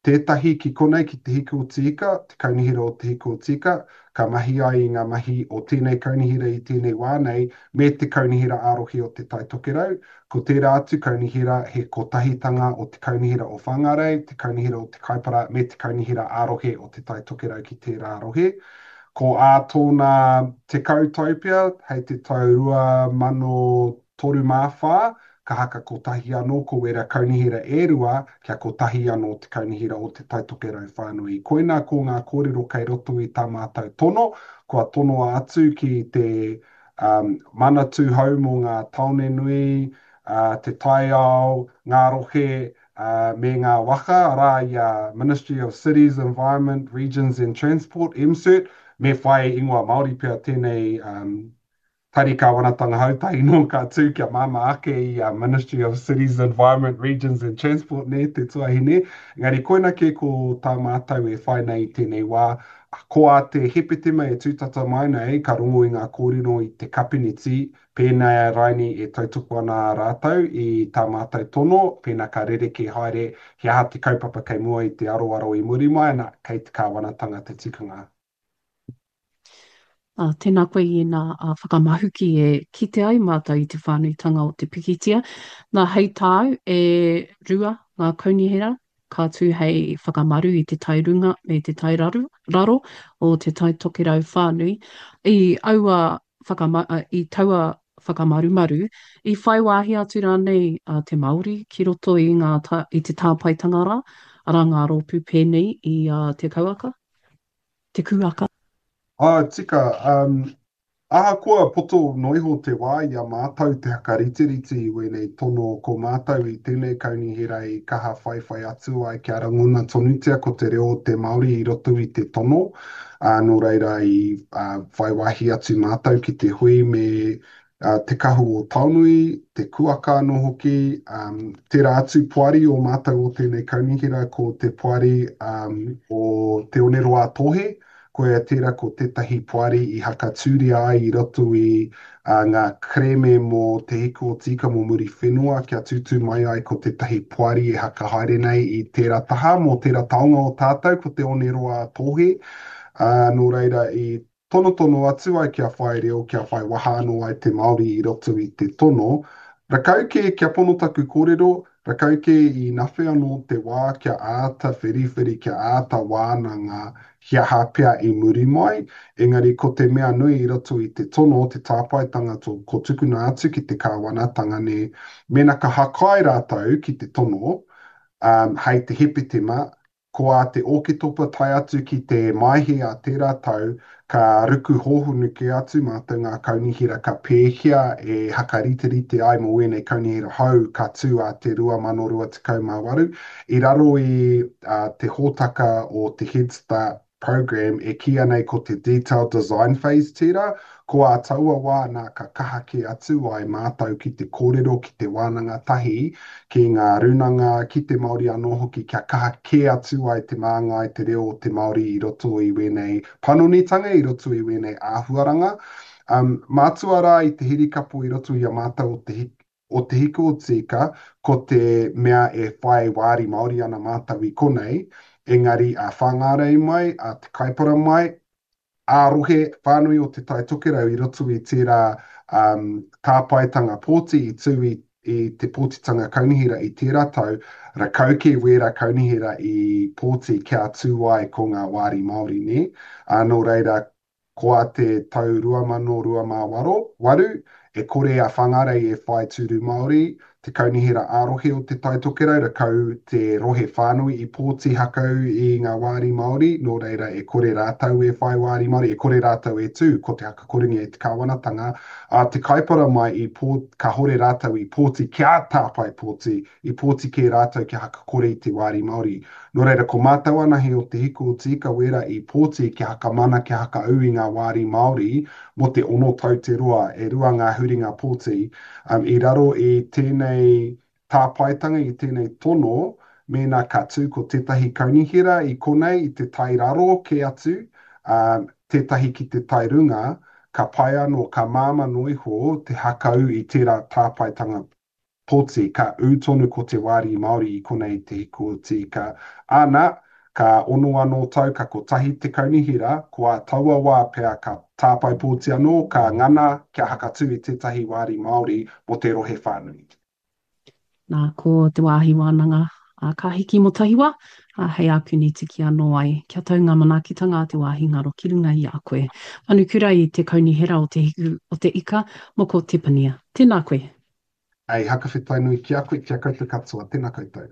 Tētahi ki konei ki Te Hiku o Te Ika, te kaunihera o Te Hiku o Te Ika, ka mahi ai i ngā mahi o tēnei kaunihera i tēnei wā nei, me te kaunihera ā-rohe o Te Tai Tokerau. Ko tērā atu kaunihera he kotahitanga o te kaunihera o Whāngārei, te kaunihera o Te Kaipara me te kaunihera ā-rohe o Te Tai Tokerau ki tērā rohe. Ko ā tōna 10 tau pea, hei te tau 2034, ka haka kotahi anō ko wērā kaunihera e rua, kia kotahi anō te kaunihera o Te Tai Tokerau whānui. Koinā ko ngā kōrero kei roto i tā mātou tono, kua tonoa atu ki te um, Manatū Hou mō ngā tāone nui, uh, te taiao, ngā rohe, ā, me ngā waka, arā, i a Ministry of Cities, Environment, Regions and Transport, MCERT, me whai ingoa Māori pea tēnei um, tari kāwanatanga hou tahi nō ka tū kia māmā ake i a Ministry of Cities, Environment, Regions and Transport, nē, te tuahine. Engari koina kē ko tā mātou e whai nei i tēnei wā, ko ā te Hepetema e tūtata mai nei, ka rongo i ngā kōrero i te kapineti, Pēnā raini e tautoko ana rātou i tā mātou tono, pēnā ka rerekē haere he aha te kaupapa kei mua i te aroaro i muri mai, ana, kei te kāwanatanga te tikanga. Ā, tēnā koe i ēnā whakamahuki e kite ai mātou i te whānuitanga o te pikitia. Nā, hei tāu, e rua ngā kaunihera ka tū hei whakamaru i te tai runga me te tai raru, raro o Te Tai Tokerau whānui. I aua whakama, i taua whakamarumaru, i whai wāhi atu rānei a te Māori ki roto i ngā tā, i te tāpaetanga rā, arā ngā rōpū pēnei i a Te Kauaka, Te Kūaka? Ā, tika, um, ahakoa poto noa iho te wā i a mātou te hakariterite i wēnei tono, ko mātou i tēnei kaunihera i kaha whaiwhai atu ai kia rangona tonutia ko te reo o te Māori i roto i te tono, ā, nō reira i whai wāhi atu mātou ki te hui me Te Kahu o Taonui, Te Kuaka anō hoki, tērā atu poari o mātou o tēnei kaunihera ko te poari o Te Oneroa-a-Tōhe, koia tērā ko tētahi poari i hakatūria ai i roto i ngā kerēme mō Te Hiku o Te Ika mō Muriwhenua kia tūtū mai ai ko tētahi poari e hakahaere nei i tērā taha mō tērā taonga o tātou ko Te Oneroa-a-Tōhe, ā, nō reira i tonotono atu ai kia whai reo, kia whai waha anō ai te Māori i roto i te tono. Rakau kē, kia pono taku kōrero, rakau kē i nawhe anō te wā kia āta whiriwhiri, kia āta wānanga he aha pea i muri mai, engari ko te mea nui i roto i te tono, te tāpaetanga to, ko tukuna atu ki te kāwanatanga nē, mēnā ka hakai rātou ki te tono, um, hei te Hepetema, Ko ā te Ōketopa tae atu ki te Maehe a tērā tau, ka ruku hōhonu kē atu mātou ngā kaunihera ka pēhea e hakariterite ai mō ēnei kaunihera hou ka tū ā te 2028. I raro i te hōtaka o te Head Start Programme e kīia nei ko te Detailed Design Phase tērā, ko ā taua wā nā ka kaha kē atu ai mātou ki te kōrero, ki te wānanga tahi ki ngā rūnanga, ki te Māori anō hoki kia kaha kē atu ai te māngai, te reo o te Māori i roto i wēnei panonitanga, i roto i wēnei āhuaranga. Um, mātua rā i te hirikapo i roto i a mātou o te o Te Hiku o Tīka, ko te mea e whai wāri Māori ana mātou i konei, engari a Whāngārei mai, a Te Kaipara mai, ā-rohe whānui o Te Tai Tokerau i roto i tērā um, tāpaetanga pōti i tū i, i te pōtitanga kaunihera i tērā tau, rakau kē wērā kaunihera i pōti kia tū ai ko ngā wāri Māori, nē? Ā, nō reira, Ko a te tau 2028, e kore a Whangarei e whai tūru Māori, te kaunihera ā-rohe o Te Tai Tokerau, rakau te rohe whānui i pōti hakau i ngā wāri Māori, nō reira e kore rātou e whai wāri Māori, e kore rātou e tū, ko te hakakorengia e te kāwanatanga, a te Kaipara mai i pō, kahore rātou i pōti kia tāpae pōti, i pōti kē rātou kia hakakore i te wāri Māori. Nō reira, ko mātou anahe o Te Hiku o Te Ika wērā i pōti kia hakamana, kia hakaū i ngā wāri Māori mō te ono tau te roa, e rua ngā huringa pōti. Um, i raro i tēnei tāpaetanga, i tēnei tono, mēnā ka tū ko tētahi kaunihera i konei i te tai raro kē atu, um, tētahi ki te tai runga, ka pai anō, ka māmā noa iho te hakaū i tērā tāpaetanga poti, ka ū tonu ko te wāri Māori i konei i Te Hiku o Te Ika. Āna, ka ono anō tau, ka kotahi te kaunihera, ko ā taua wā pea ka tāpae pōti anō, ka ngana kia hakatū i tētahi wāri Māori mō te rohe whānui. Nā, ko te wāhi wānanga a Ka Hiki Mō Tahiwa, ā, hei ākuni tiki anō ai, kia tau ngā manaakitanga a te wāhi ngaro ki runga i a koe. Manukura i te Kaunihera o Te Hiku o Te Ika, Moko Tepania. Tēnā koe. Hei hakawhetai nui ki a koe, ki a koutou katoa. Tena koutou.